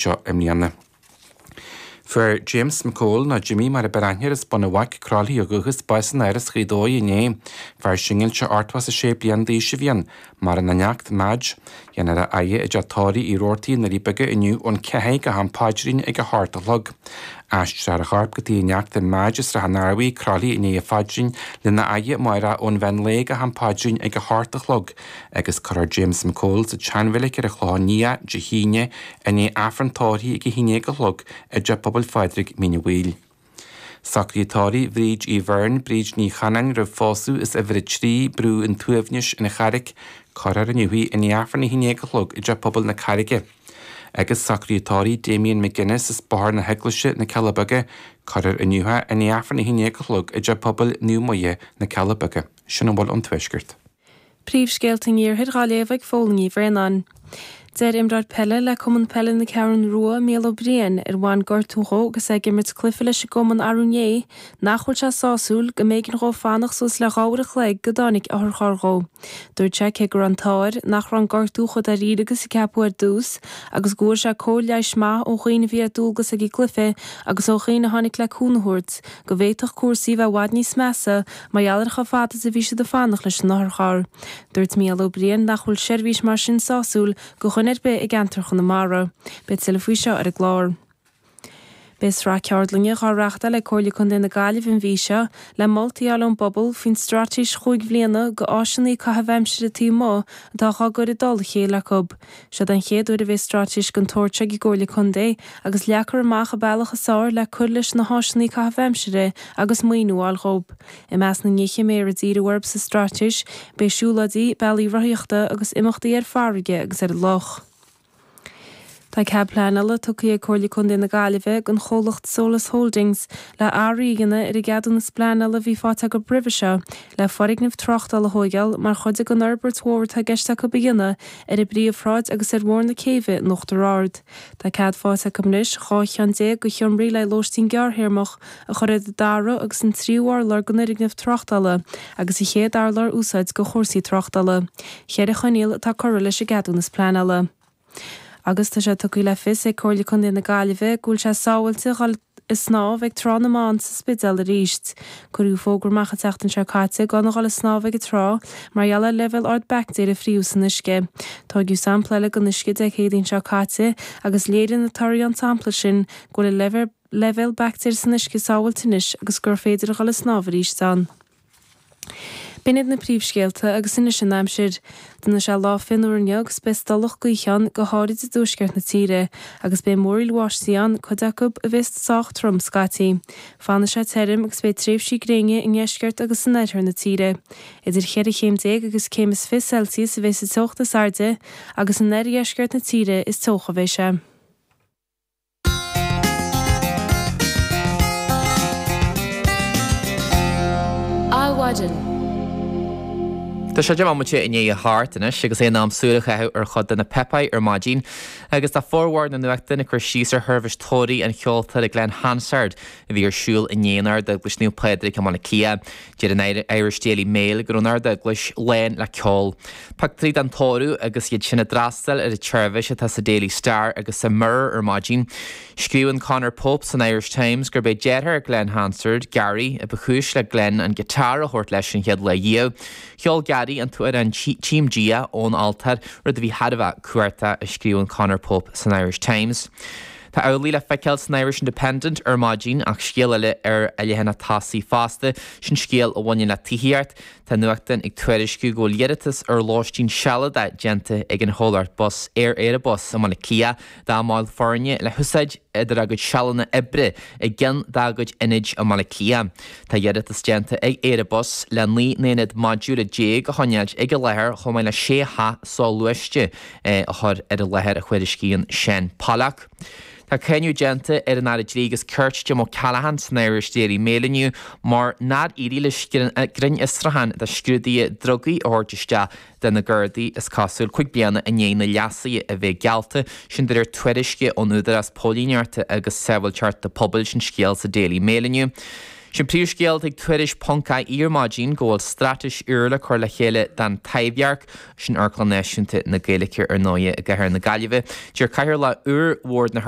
Seo i mbliana. Fuair James McCole, nó Jimmy mar a b'fhearr aithne air as Bun an Bhaic, Croithlí ó dhúchas, bás in Áras Ghaoth Dobhair inné. Fear singilte 86 bliain d'aois a bhí ann. Maireann a neacht, Madge. Déanfar a fhaire i dteach tórraimh Uí Robhartaigh i nDoirí Beaga inniu ón 4 go ham paidrín ag a hocht a chlog. Aistreofar a chorp go tigh a neachta Madge i Srath an Arbhaigh, Croithlí i ndiaidh an phaidrín, lena fhaire amárach ón mheán lae go ham paidrín ag a hocht a chlog agus cuirfear James McCole sa tseanreilig ar an Chlochán Liath Dé hAoine i ndiaidh Aifreann tórraimh ag 11 a chlog i dTeach Pobail Phádraig, Mín an Mhaoil. Socruithe tórraimh Bhríd Uí Bheirn, Bríd Ní Chanáin roimh phósadh as uimhir 3, Brú an tSuaimhnis, An Charraic, cuirfear inniu í i ndiaidh Aifreann 11 a chlog i dTeach Pobail na Carraige. Agus socruithe tórraimh Damien McGuinness as Bóthar na hEaglaise, Na Cealla Beaga, cuirfear inniu é i ndiaidh Aifreann 11 a chlog i dTeach Pobail Naomh Muire, Na Cealla Beaga. Sin a bhfuil ón Tuaisceart. Príomhscéalta an Iarthair dhá léamh ag Fódhla Ní Bhraonáin. Deir imreoir peile le Cumann Peile na Ceathrún Rua, Mícheál Ó Briain, ar bhain gortú dhó agus é ag imirt cluiche leis an gcumann arú inné, nach bhfuil sé sásúil go mb'éigean dhó fanacht suas le 2 uair a chloig go dtáinig otharcharr dhó. Dúirt sé cé go raibh an t-ádh air nach raibh an gortú chomh dáiríre agus a ceapadh ar dtús agus go bhfuair sé cóir leighis maith ó dhaoine a bhí ar dualgas ag an gcluiche agus ó dhaoine a tháinig le cúnamh a thabhairt, go bhféadfadh cúrsaí a bheith i bhfad níos measa mar gheall ar chomh fada is a bhí siad ag fanacht leis an otharcharr. Dúirt Mícheál Ó Briain nach bhfuil seirbhís mar sin sásúil go dhuine ar bith i gceantar Chonamara. Beidh tuilleadh faoi seo ar an gclár. Beidh sraith ceardlainne dhá reachtáil ag Comhairle Contae na Gaillimhe an mhí seo le moltaí a fháil ón bpobal faoin straitéis chúig bhliana go áiseanna caitheamh aimsire taobh amuigh atá dhá gcur i dtoll a chéile acu. Seod an chéad uair a bheidh straitéis den tsórt seo ag an gComhairle Contae agus leagfar amach an bealach is fearr le cur leis na háiseanna caitheamh aimsire agus maoiniú a fháil dhóibh. I measc na nithe a mbeifear ag díriú orthu sa straitéis beidh siúlóidí, bealaí rothaíochta agus imeachtaí ar farraige agus ar an loch. Tá cead pleanála tugtha ag Comhairle Contae na Gaillimhe don chomhlacht Solas Holdings le athruithe a dhéanamh ar an gceadúnas pleanála a bhí faighte acu roimhe seo le foirgneamh tráchtála a thóigeáil mar chuid den fhorbairt mhór atá i gceist acu a dhéanamh ar an bPríomhshráid agus ar Bhóthar na Céibhe in Uachtar Ard. Tá cead faighte acu anois 12 cheann de sheomraí le lóistín gearrthéarmach a chur ar an dara agus an tríú urlár den fhoirgneamh tráchtála agus an chéad urlár a úsáid do chúrsaí tráchtála. Cheithre choinníoll atá curtha leis an gceadúnas pleanála. Agus tá sé tugtha le fios ag Comhairle Contae na Gaillimhe go bhfuil sé sábháilte dhul ag snámh ag Trá na mBan sa Spidéal arís. Cuireadh fógra amach an tseachtain seo caite gan a dhul ag snámh ag an trá mar gheall ar leibhéal ard baictéir a fríothadh san uisce. Tóigeadh sampla eile den uisce Dé Céadaoin seo caite agus léirigh na torthaí ón tsampla sin go bhfuil an leibhéal baictéir san uisce sábháilte anois agus gur féidir a dhul ag snámh arís ann. B'in iad na príomhscéalta agus anois an aimsir. Déanfaidh sé lá fionnuar inniu agus beidh stolladh gaoithe ann, go háirid i dtuaisceart na tíre, agus beidh múraíl bháistí ann, cuid acu a bheas sách trom scaití. Fanfaidh sé tirim agus beidh tréimhsí gréine i ndeisceart agus in oirthear na tíre. Idir cheithre chéim déag agus céim is 20 Celsius a bheas an teocht is airde agus in oirdheisceart na tíre is teocha a bheidh sé. Adhmhaidin. Tá sé 10 bomaite i ndiaidh a hocht anois agus é in am súil a chaitheamh ar chuid de na páipéir ar maidin agus tá formhór na nuachtán ag cur síos ar sheirbhís tórraimh an cheoltóra Glen Hansard a bhí ar siúl inné in Ard-Eaglais Naomh Pádraig i mBaile Átha Cliath. Deir an Irish Daily Mail go raibh an Ard-Eaglais lán le ceol. Pictiúirí den tórramh agus iad sin a d'fhreastail ar an tseirbhís atá sa Daily Star agus sa Mirror ar maidin. Scríobhann Conor Pope san Irish Times gurb é deartháir Glen Hansard, Gary, a ba chúis le Glen an giotár a thabhairt leis an chéad lá riamh. Cheol Gary an t-amhrán Tchím Dia ón altóir, rud a bhí thar a bheith cumhachtach, a scríobhann Conor Pope san Irish Times. Tá amhlaidh le feiceáil san Irish Independent ar maidin ach scéal eile ar a leathanach tosaigh fosta, sin scéal a bhaineann le tithíocht. Tá nuachtán ag tuairisciú go bhfuil iarratas ar lóistín sealadach déanta ag an chomhlacht bus Aer Éirebus i mBaile Átha Cliath dá mbaill foirne le húsáid idir a gcuid sealanna oibre i gceann dá gcuid ionaid i mBaile Átha Cliath. Tá iarratas déanta ag Éirebus le 19 n-aonad modúla a choinneáilt ag an láthair chomh maith le 6 theach soghluaiste a chur ar an láthair, a thuairiscíonn Seán Pollock. Tá cáineadh déanta ar an Aire Dlí agus Cirt Jim O'Callaghan san Irish Daily Mail inniu mar nár éirigh leis grinnfhiosrúchán de scrúduithe drugaí a thabhairt isteach do na Gardaí, is cosúil, 5 bliana i ndiaidh na leasuithe a bheith geallta, sin de réir tuairisce ón Údarás Póilíneachta agus Sábháilteachta Pobail, sin scéal sa Daily Mail inniu. Sin príomhscéal ag Tuairisc ponc ie ar maidin go bhfuil straitéis úr le cur le chéile don Taibhdhearc, sin Amharclann Náisiúnta na Gaeilge ar ndóighe i gcathair na Gaillimhe. Deir Cathaoirleach úr Bhord na.